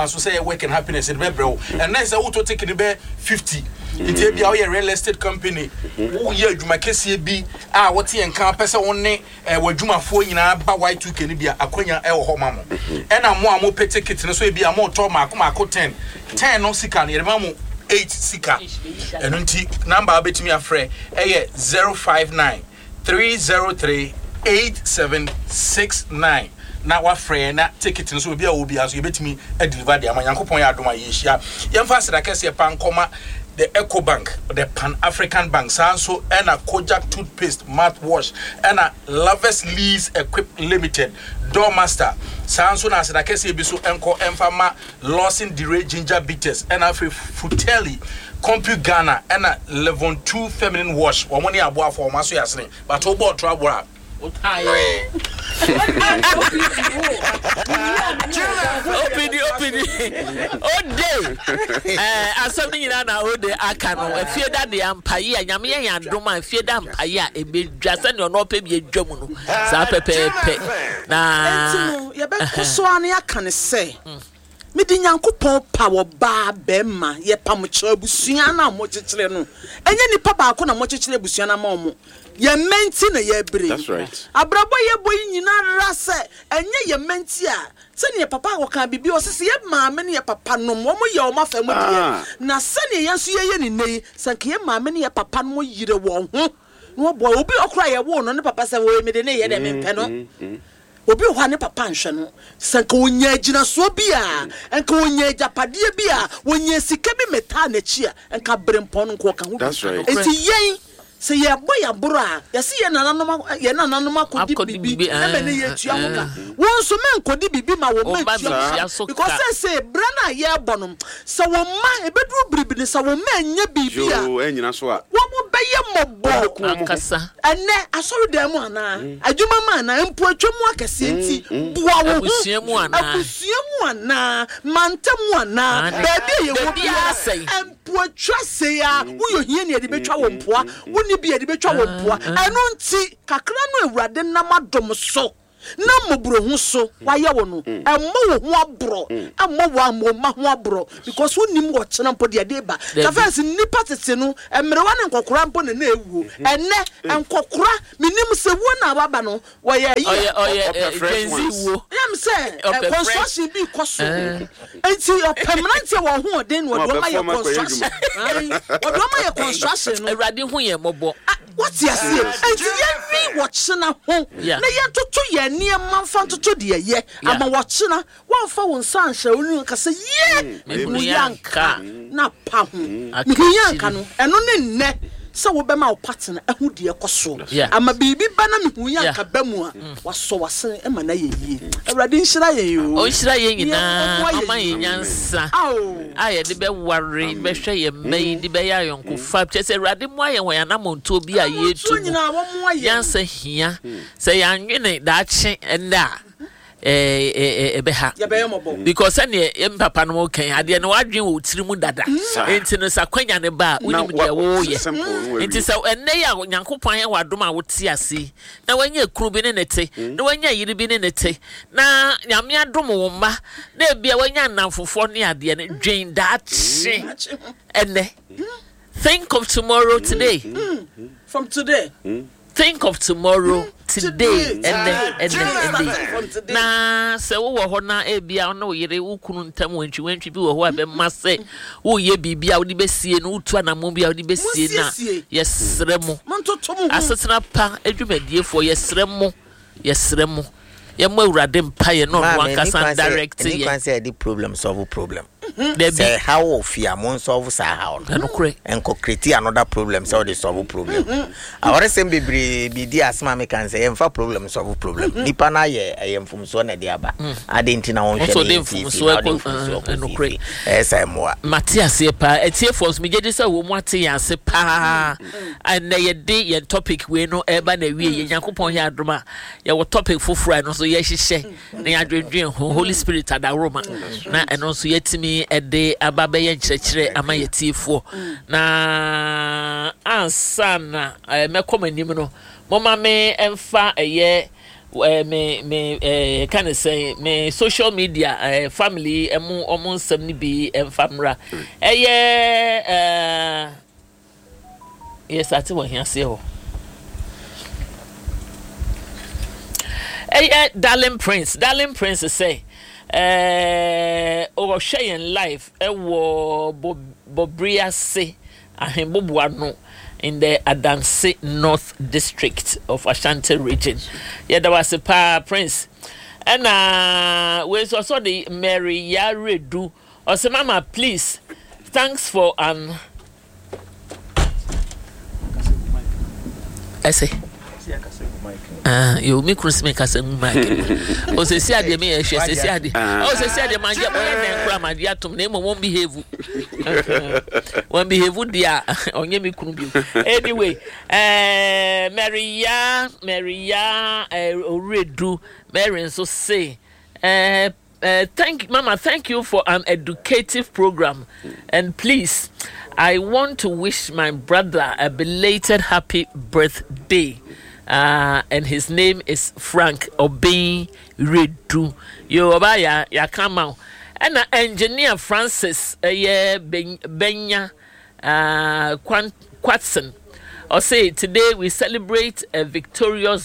kwan so sɛ ɛyɛ work and happiness yɛde bɛbrɛ wo. Ɛnnɛ sɛ wotɔ ticket no bɛyɛ 50 nti ebia woyɛ real estate company, woyɛ adwuma kɛseɛ bi a wote yɛn nka pɛ sɛ wo ne eh, w'adwumafoɔ nyinaa ba Y2K no bi a, akwanya ɛwɔ hɔ ma mo. Ɛna mo a mopɛ ticket no so ebia motɔ maako maako 10, 10 no sika no yɛde ma mo 8 sika. Ɛno nti number a wobɛtumi afrɛ ɛyɛ 059 303 8769 na wafrɛ yɛn na ticket no so obi a ɔwɔ biara so yɛbɛtumi adeliver de ama. Nyankopɔn yɛ adom a yɛhyia. Yɛmfa aseda kɛseɛ pa nkɔma the Ecobank, the Pan African Bank, saa nso ɛna Kojak toothpaste, mouthwash, ɛna Lovers Lease Equip Limited, Doormaster, saa nso na aseda kɛseɛ bi so nkɔ ɛmfa ma Lawson Dire Ginger Bitters, ɛna afei Fratelli, Compu Ghana, ɛna Levon 2 Feminine Wash, wɔn ne aboafoɔ, wɔn aso yɛ asene, but wobɔ ɔtoro aboa a, Opidi opidi ode eh, asɛm no nyinaa na ode aka no afie da deɛ ampaye a nyame yɛ yɛn adom a afie da mpaye a ɛbɛdwa sɛdeɛ ɔno ɔpɛ bi adwa mu no saa pɛpɛɛpɛ na Enti no, yɛbɛkɔ so ara na yɛaka no sɛ, Mede Nyankopɔn paw ɔbaa, barima, yɛpam kyerɛ abusua no a mokyekyere no. Ɛnyɛ nipa baako na mokyekyere abusua no ama wɔn. Yɛn mma nti na yɛrebrɛ yi. That's right. Abrabɔ a yɛbɔ yi nyina ara sɛ ɛnyɛ yɛn mma nti a, sɛdeɛ papa ɔkaa biribi, ɔse sɛ yɛn maame ne yɛn papa nom, wɔn yɛ wɔn afa mu deɛ, Ah. na sɛdeɛ yɛn nso yɛyɛ no nnɛ yi, sɛ anka yɛn maame ne yɛn papa nom yere wɔn ho na wɔboa obi wɔ koraa a yɛwoo no, ne papa sɛ woi mede no reyɛ dɛ, mempɛ no. Obi wɔ hɔ a ne papa nhwɛ no. Sɛ anka ɔnyaa agyinasoɔ bi a, anka ɔnyaa agyapadeɛ bi a, ɔnyaa sika bi mɛtaa n'akyi a, anka berempɔn no nka ɔka ho bi. Enti yɛn, sɛ yɛrebɔ yɛn aboro a, yɛse yɛn nananom, yɛn nananom akɔdi biribi ma ɛnnɛ yɛretua ho ka. Wo nso mɛnkɔdi biribi ma wo mma ntua ho ka. Because seesei berɛ no a yɛrebɔ no, sɛ wo mma, ɛbɛduru bere bi no, sɛ wo mma annya biribi a, wɔbɛyɛ mmɔbɔ. Ɛnnɛ, asɔredan mu anaa, adwuma mu anaa, mpo atwa mu akɛseɛ nti, boa wo ho. Abusua mu anaa. Abusua mu anaa, mantam mu anaa, baabi a yɛwɔ biara, mpo atwa sei ara, woyɛ ohiani a yɛde bɛtwa wo mpoa, wonni bi a yɛde bɛtwa wo mpoa. Ɛno nti, kakra no a Awurade nam adom so na mmɔborɔhu so wayɛ wo no, mmɔ wo ho aborɔ, mmɔ wo wo mma ho aborɔ, because wonnim ɔkyena mpo deɛ ɛde reba. Ka first nnipa tete no, mmerewa ne nkɔkora mpo na na ɛwuo. Ɛnnɛ, nkɔkora, mennim sɛ wuo no a waba no, wɔyɛ ayi a. Ɔyɛ ɔyɛ Ɔpɛ fresh Gen Z ones. wuo. Ɛyɛ me sɛ Ɔpɛ fresh. construction bi rekɔ so, nti ɔpɛ mmeranteɛ wɔn ahoɔden na ɔde wɔn ayɛ construction. Ae, ɔde wɔn ayɛ construction no. Awurade hu yɛn mmɔbɔ. Ah, Woate aseɛ? Enti yɛnwen ɔkyena ho, na yɛntoto yɛn nneɛma mfa ntoto deɛ ɛyɛ, ama ɔkyena woamfa wo nsa anhyɛ wo nua nka sɛ, Yie! Mehunu yɛ anka, na pa ho. Mehunu yɛ anka no, ɛno ne nnɛ sɛ wobɛma wo partner ahu deɛ ɛkɔ soɔ, ama biribi ba na mehunu yɛ anka ba mu a, wasɔ w'asene ma no ayɛ yie. Awurade nhyira yɛn oo. Ɔnhyira yɛn Na nyinaa, ɔmmoa ɔmma yɛn yɛn yie. nyansa Ao. a yɛde bɛware, bɛhwɛ yɛn mma yi, de bɛyɛ ayɔnkofa. Kyerɛ sɛ Awurade mmoa yɛn wɔ yɛn anammɔntuo bi a Anammɔntuo yɛretu mu. nyinaa wɔmmoa yɛn. Nyansa hia. Sɛ yɛanwene daakye ɛnnɛ a, ɛbɛha. Yɛbɛyɛ mmɔbɔ. Because sɛdeɛ yɛn papa no kan adeɛ no wadwen wɔ tiri mu dada. Nti no sɛ akwanya no ba a wonim deɛ woyɛ. Nti sɛ ɛnnɛ yi a Nyankopɔn ayɛ w'adom a wote ase yi na wanya kunu bi ne ne te na wanya yere bi ne ne te na Nyame adom wo mma na ebia wanya nnamfofoɔ ne adeɛ no dwen daakye ɛnnɛ. Think of tomorrow today. From today. Think of tomorrow today ɛnɛ ɛnɛ ɛnɛ na sɛ wowɔ hɔ na ebia wo ne wo yere wo kunu ntam wantwiwantwi bi wɔ hɔ a ɛbɛma sɛ woyɛ biribi a wode bɛsie no wotu anammɔn bi a wode bɛsie no a yɛsrɛ mo asetena pa adwumadiefoɔ yɛsrɛ mo yɛsrɛ mo yɛmmɔ awurade mpaeɛ na ɔno ankasa ndirect yɛn. Ɛni kwan sɛ yɛde problem solve problem. Dabi. Sɛ ɛhaw wɔ fie a, mo nsolve saa haw no. Ɛnokorɛ. Ɛnkɔ create another problem sɛ wode solve problem. Awaresɛm bebree bi di asɛm a meka no sɛ yɛmfa problem solve problem. Nipa no ayɛ ɛyɛ mfomsoɔ na ɛde aba. Adɛn nti na wonhwɛ Nso no wode yɛ nsiesie mfomsoɔ na wode ɛkɔ mfomsoɔ kɔ ɛnokorɛ. siesie. Ɛyɛ sɛ mmoa. Mate aseɛ paa. Atiefoɔ nso megye di sɛ wɔn ate yɛn ase paa. Ɛnnɛ yɛde yɛn topic wei no ɛreba n'awieɛ. Nyankopɔn yɛ adom a yɛwɔ topic foforɔ a ɛno nso yɛhyehyɛ na yɛadwendwen ho holy spirit adaworoma na ɛno nso yɛatumi de aba bɛyɛ nkyerɛkyerɛ ama yɛtiefoɔ na ansa na eh, mɛkɔ m'anim no moma me mfa ɛyɛ. Eh, me me eh, ka ne sɛn me social media eh, family ɛmo ɔmo nsɛm no bi ɛmfa mmra ɛyɛ eh, yɛ sate wɔ ahiaseɛ hɔ ɛyɛ darling prince darling prince sɛ ɛɛ ɔhwɛ yɛn live ɛwɔ bɔbri ase Ahenboboano in the Adanse North District of Ashanti Region. Yɛda wo ase paa Prince. Ɛna wei nso ɔsɛ ɔde Mary Yaredu ɔsɛ mama please thanks for an ɛsɛ. Ah, yo me kunu simi kasa mu mic no. O sɛ si adeɛ me yɛ hwɛ sɛ si adeɛ. O sɛ si adeɛ ma gye mo yɛ dɛn kora ma gye atom na emu wɔn behave. Wɔn behave deɛ a ɔnyɛ me kunu bio. Anyway, eh, Mary ya, Mary ya, eh, Oredu, Mary nso se, eh, Uh, thank Mama, thank you for an educative program. And please, I want to wish my brother a belated happy birthday. Uh, and his name is Frank Obin Redu. Yo, oba ya ya kama. And engineer Francis eh, yeah, Benya uh, Kwatson. I say today we celebrate a victorious